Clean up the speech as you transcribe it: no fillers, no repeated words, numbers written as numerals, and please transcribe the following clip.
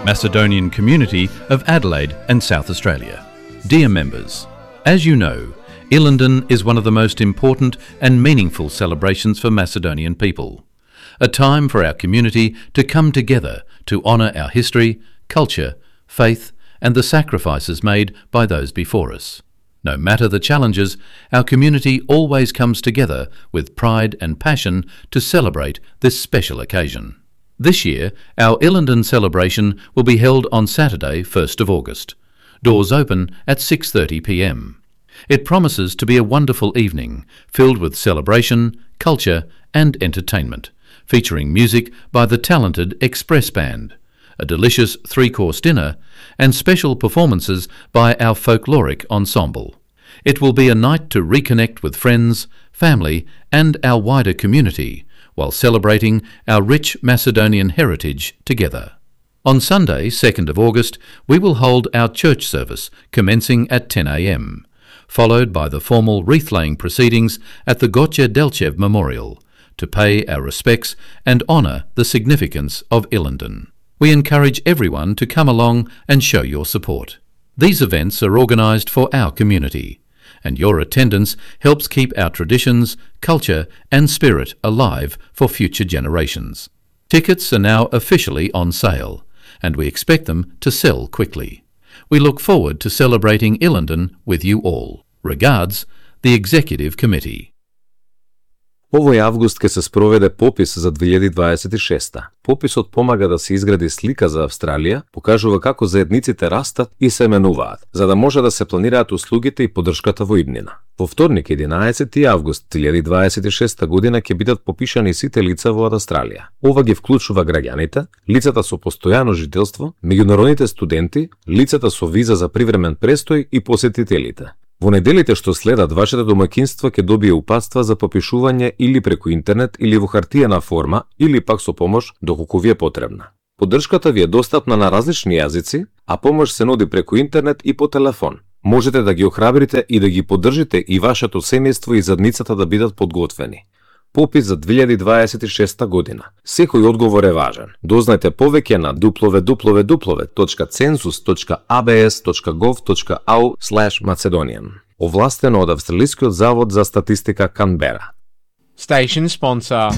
Macedonian community of Adelaide and South Australia. Dear members, as you know, Illenden is one of the most important and meaningful celebrations for Macedonian people. A time for our community to come together to honour our history, culture, faith and the sacrifices made by those before us. No matter the challenges, our community always comes together with pride and passion to celebrate this special occasion. This year, our Illenden celebration will be held on Saturday, 1st of August. Doors open at 6:30 p.m. It promises to be a wonderful evening, filled with celebration, culture and entertainment, featuring music by the talented Express Band, a delicious 3-course dinner and special performances by our folkloric ensemble. It will be a night to reconnect with friends, family and our wider community, while celebrating our rich Macedonian heritage together. On Sunday, 2nd of August, we will hold our church service commencing at 10 a.m, followed by the formal wreath-laying proceedings at the Gotje Delchev Memorial, to pay our respects and honour the significance of Illenden. We encourage everyone to come along and show your support. These events are organised for our community, and your attendance helps keep our traditions, culture and spirit alive for future generations. Tickets are now officially on sale, and we expect them to sell quickly. We look forward to celebrating Illenden with you all. Regards, the Executive Committee. Овој август ќе се спроведе попис за 2026. Пописот помага да се изгради слика за Австралија, покажува како заедниците растат и се менуваат, за да може да се планираат услугите и поддршката во иднина. Во вторник, 11 август 2026 година ќе бидат попишани сите лица во Австралија. Ова ги вклучува граѓаните, лицата со постојано жителство, меѓународните студенти, лицата со виза за привремен престој и посетителите. Во неделите што следат, вашите домаќинства ќе добие упатства за попишување или преку интернет или во хартиена форма или пак со помош доколку ви е потребна. Поддршката ви е достапна на различни јазици, а помош се нуди преку интернет и по телефон. Можете да ги охрабрите и да ги поддржите и вашето семејство и задницата да бидат подготвени. Попис за 2026 година. Секој одговор е важен. Дознајте повеќе на www.census.abs.gov.au/Macedonian. Овластено од Австралискиот завод за статистика Канбера. Station sponsor.